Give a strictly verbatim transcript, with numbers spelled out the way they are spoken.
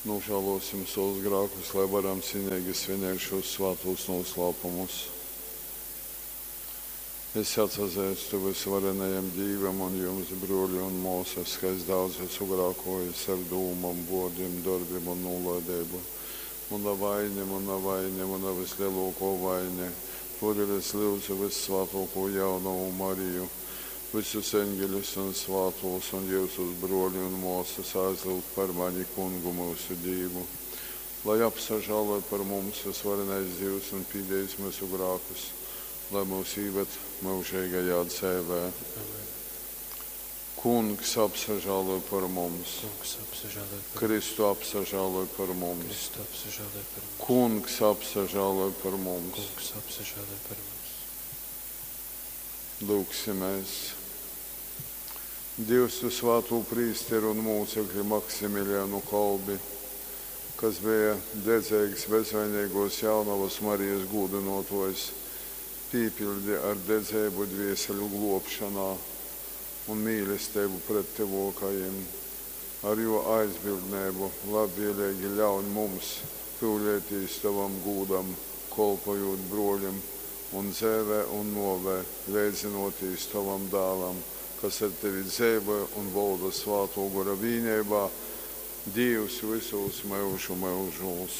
Nožēlosim savus grēkus, lai varam cienīgi svinēt šos svētos noslēpumus. Es atsazeistu vysvarenajam Dīvam un jums, bruoli un māsas, ka es daudz esmu grēkojis ar dūmom, vārdiem, darbiem un nolaidību. Mana vaine, mana vaine, mana vislielākā vaine. Tādēļ es lūdzu vissvētāko jaunavu Mariju, visus eņģeļus un svētos un jyusus bruoli un māsas aizlūgt par mani kungu mūsu Dīvu. Lai apsažāloj par mums visvarenais Dievs un pīdējis mūsu grēkus, lai mūs ieved mūžīgajā dzīvē. Amen. Kungs apsažāloj par mums, Kungs apsažāloj par mums. Kristu apsažāloj par mums, Kristu apsažāloj par mums. Kungs apsažāloj par mums. Kungs apsažāloj par mums. Lūksimies! Dievs, tu svēto prīsteru un mūcekli Maksimilianu Kolbi, kas bija dedzīgs bezvainīgos jaunavas Marijas gūdinotājs, pīpildi ar dedzību dvieseļu globšanā un mīlestību pret tuvākajiem. Ar jo aizbildnību labvēlīgi ļauj mums pyulētīs tavam gūdam, kolpojot broļim un dzēvē un novē, leidzinoties tavam dēlam, kas ar tevi dzīvoja un valda svāto gora vīnībā, Dievs visos mūžu mūžos.